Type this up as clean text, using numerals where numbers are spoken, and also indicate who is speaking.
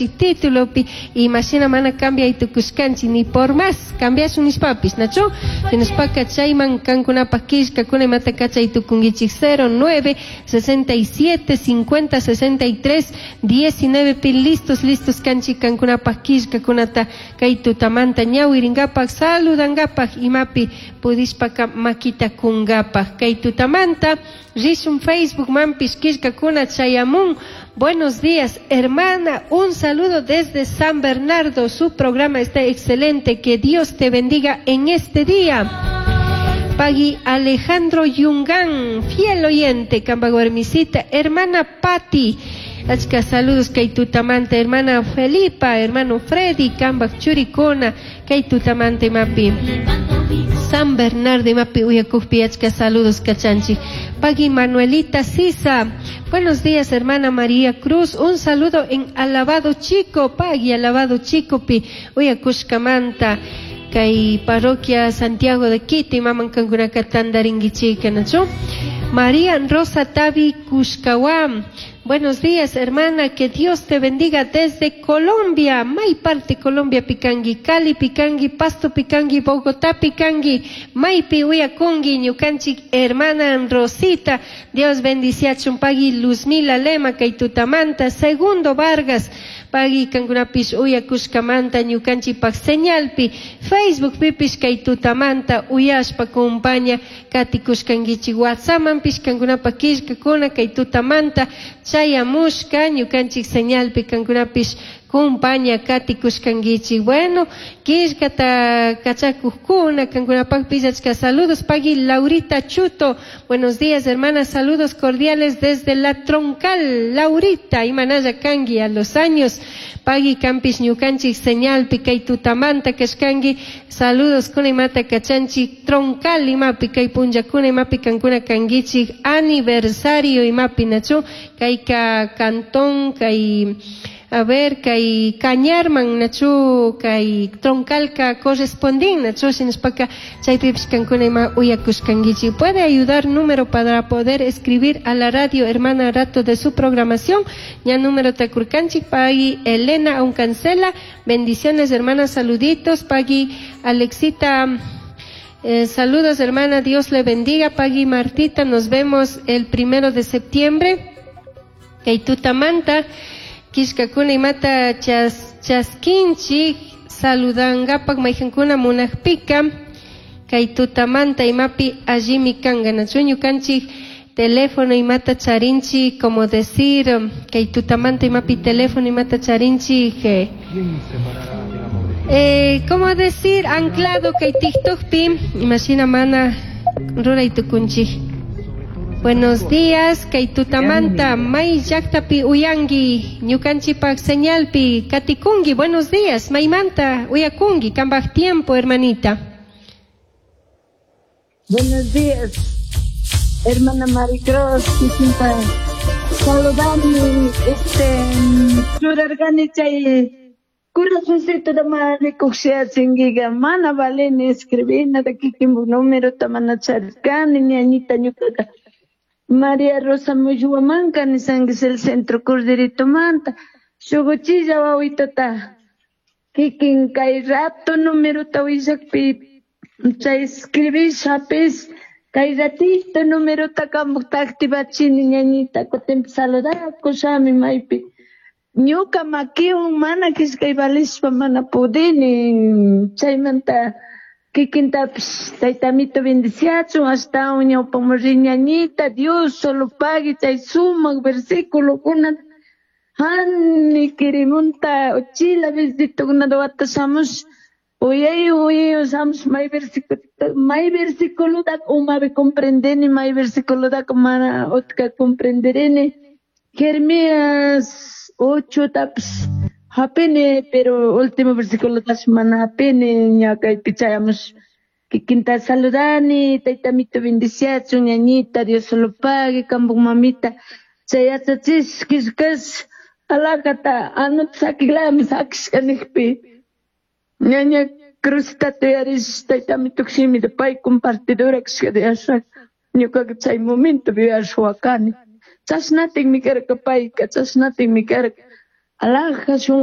Speaker 1: ñukanchik titulopi imashina mana cambiay tukushkanchik ni por más cambiashun nishpapis, nachu? Hinashpaka chayman kankunapaq killkakuna imata kachay tukunkichik 09 67 50 63 19 pi listos listos kanchik kankunapaq killkakunata kay tutamanta ñawirinkapak saludankapak imapi pudishpaka makita kunkapak kay tutamanta rishun Facebook manpish killkakuna chayamun. Buenos días, hermana, un saludo desde San Bernardo, su programa está excelente, que Dios te bendiga en este día. Pagui Alejandro Yungán, fiel oyente, Cambaguarmisita, hermana Patti, achka saludos kay tutamanta, hermana Felipa, hermano Freddy, Cambak Churicona, kay tutamanta imapi. San Bernardo imapi uyakukpi achka saludos kachanchik. Pagui Manuelita Sisa, buenos días, hermana María Cruz, un saludo en Alabado Chico, Pagui Alabado Chico pi uyakushkamanta. Kay parroquia Santiago de Quito, imaman kankunaka tantarinkichika, nachu? María Rosa Tavi Cushcahuam, buenos días, hermana, que Dios te bendiga desde Colombia, may parte Colombia pikanki, Cali pikanki, Pasto pikanki, Bogotá pikanki, maypi uyakunki, ñukanchik hermana Rosita, Dios bendiciachun, pagui Luzmila Lema, kay tutamanta, Segundo Vargas, pagui kankunapish uyakushkamanta ñukanchikpak señalpi, Facebook pipish kay tutamanta uyashpa kumpaña katikushkankichik, WhatsAppmanpish kankunapak killkakuna kay tutamanta chayamushka ñukanchik señalpi kankunapish kumpaña katikushkankichik. Bueno, killkata kachakuqkuna kankunapakpish achka saludos. Pagui Laurita Chuto, buenos días, hermana, saludos cordiales desde La Troncal. Laurita, imanalla kanki a los años. Pagui kampish ñukanchik señalpi kay tutamanta kashkanki, saludos kuna imata kachanchik Troncal imapi kay punllakuna imapi kankuna kankichik aniversario imapi nachu kayka cantón kay a ver kay Cañarman nachu kay Troncalka correspondin nachu shinashpaka chaypipish kankuna ima uyakushkankichik. Puede ayudar número para poder escribir a la radio hermana rato de su programación, ña número takurkanchik. Pagui Elena Aucancela, bendiciones hermana, saluditos. Pagui Alexita, saludos hermana, Dios le bendiga. Pagui Martita, nos vemos el 1 de septiembre. Kay tutamanta killkakuna imata chaskinchik saludangapak mayjankuna munakpika kay tutamanta imapi allimi kanka nachu ñukanchik teléfono imata charinchik, como decir kay tutamanta imapi teléfono imata charinchik, como decir anclado kay TikTokpi imashina mana ruray tukunchik. Buenos días, kay tutamanta may llaqtapi uyanki ñukanchikpak señalpi katikunki. Buenos días, maymanta uyakunki, kambaj tiempo, hermanita.
Speaker 2: Buenos días, hermana Maricruz, kikinta saludani, churarkani chay corazoncito da marikuqshiachinkiqa mana valini escribina da kikinpuk numerota mana charirkani ñañita ñukaqa. María Rosa Muyuamanca, ni San el centro Corderito Manta, Shuguchilla wawitata, kikin kay rato número tawillakpi, chay escribishapis, kay ratito número takamukta activachini ñañita, kutin saludakushami maypi. Ñuka makiwan mana kishkay valishpa mana pudini, chaymanta kikintapish taytamito bendiciachun ashtawan ñawpaman riñañita, Dios solo pague chay sumak versículokuna hani kirimunta uchila besitokunata wata shamush uyay uyay shamush may versículo may versículotaka umapi comprendeni may versículotaka mana utka comprenderini Jeremías 8 tapish hapini, pero último versículo mana hapini, ña kaypi chayamush kikinta saludani, taytamito bendiciachun, ñañita, Dios solo pague, kambuk mamita, chay yachachish killkash alakata anuta sakiklami sakishka nijpi, ñaña Cruzita tuyarish taytamito shimita pay compartidora kashkata yashak, ñukaka chay momento yuyashwakani, chashnatikmi karka payka, chashnatikmi karka, alaja shunku.